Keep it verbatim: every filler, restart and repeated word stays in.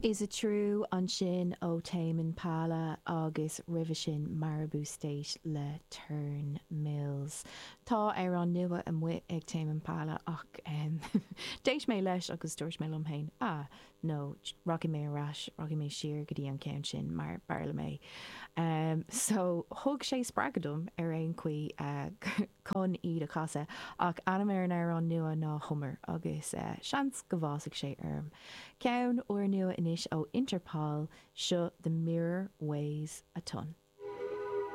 Is It True ansin ó Tame Impala agus roimhe sin Maribou State le Turn Mills. Tá amhrán nua amuigh ag Tame Impala ach um, d'éist mé leis agus dúirt mé liom féin ah no rachaidh mé ar ais rachaidh mé siar go dtí an ceann sin mar b'fhearr liom é. Um, so thug sé spreagadh dom ar aon chaoi uh, chun iad a chasadh ach ainm ar an amhrán nua ná Hummer agus uh, seans go bhfásfaidh sé orm. Ceann úrnua anois ó Interpol seo The Mirror Weighs a Ton.